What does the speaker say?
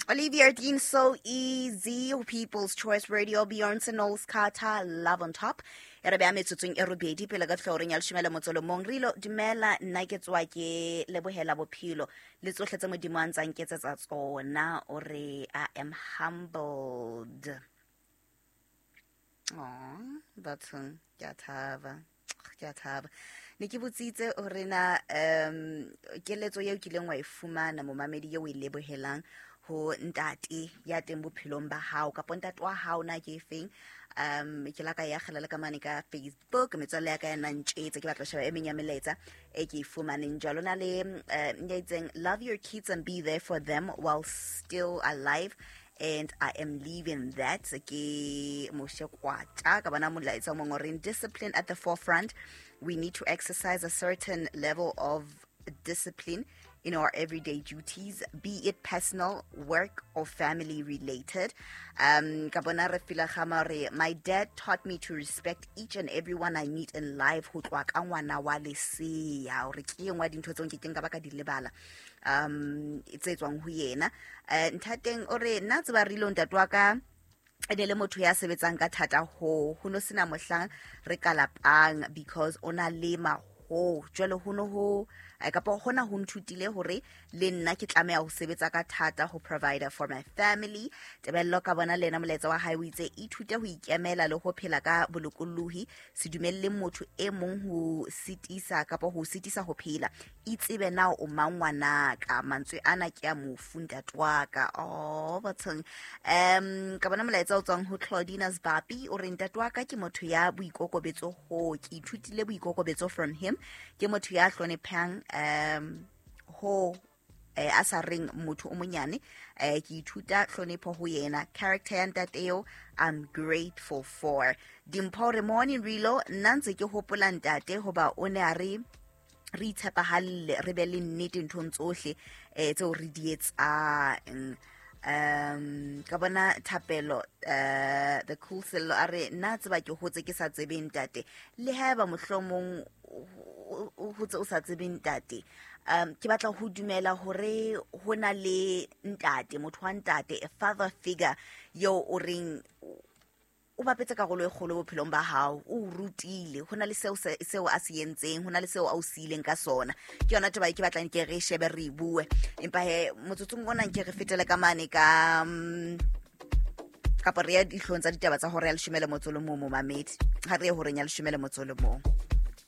Olivia Dean, So Easy, People's Choice Radio, Beyonce Knowles Carter, Love on Top. E re beya metsotsong e robedi pele ka tlhoreng ya leshome le motso le mong. Re ilo dumela, nna ke tswa ke lebohela bophelo le tsohle tse Modimo a ntsang ketsetsa tsona. O re I am humbled. Aw, bathong, ke a thaba, ke a thaba. Ne ke botsitse hore na keletso eo kileng wa e fumana, momamedi, eo o e lebohelang ho ntate ya teng bophelong ba hao kapa ntate wa hao, na ke efeng? Ke la ka ya kgela le ka mane ka Facebook, metswalle ya ka ya nantjetse. Ke batla ho sheba e meng ya melaetsa e ke e fumaneng jwalo. Na le ya itseng, "Love your kids and be there for them while still alive," and I am leaving that. Ke Moshe Kwata. Ka bona molaetsa o mongwe o reng, "Discipline at the forefront. We need to exercise a certain level of discipline in our everyday duties, be it personal, work, or family related." Ka bona re fila gama re, "My dad taught me to respect each and everyone I meet in life, ho tloha ka ngwana wa lesea." Hore ke e nngwe ya dintho tseo nkekeng ka ba ka di lebala tse tswang ho yena. Nthateng o re, nna tseba re ile, ntate wa ka e ne le motho ya sebetsang ka thata, ho no sena mohlang re ka lapang because o na lema ho jwale ho no ho kapa hona ho nthutile hore le nna ke tlameha ho sebetsa ka thata ho provide for my family. Tebello, ka bona le ena molaetsa wa hae, o itse, "Ithute ho ikemela le ho phela ka bolokolohi. Se dumelle motho e mong ho sitisa kapa ho sitisa ho phela. Itsebe na o mang, ngwanaka." Mantswe ana ke a mofu ntate wa ka. Oh, bathong. Ka bona molaetsa o tswang ho Claudina Sbapi, o re, "Ntate wa ka ke motho ya boikokobetso, ho ke ithutile boikokobetso from him. Ke motho ya hloniphang, ho a sa reng motho o monyane. Ke ithuta hlonipho ho yena. Character ya ntate eo I'm grateful for." Dimpho re, "Morning Rilo, nna ntse ke hopola ntate hoba o ne a re re itshepahalle, re be le nnete nthong tsohle tseo re di etsang." Ka bona Thapelo, the cool Sello, a re, "Nna tseba ke hotse ke sa tsebeng ntate." Le haeba mohlomong o hotse o sa tsebeng ntate, ke batla ho dumela hore ho na le ntate, motho wa ntate, a father figure eo o reng o bapetse karolo e kgolo bophelong ba hao, o o rutile, ho na le seo seo a se entseng, ho na le seo a o siileng ka sona. Ke yona taba e ke batlang ke re shebe, re e bue. Empa he motsotsong ona nke re fetele ka mane ka kapa re ya dihlong tsa ditaba tsa hora ya leshome le motso le mong. Momamedi, ha re ye horeng ya leshome le motso le mong.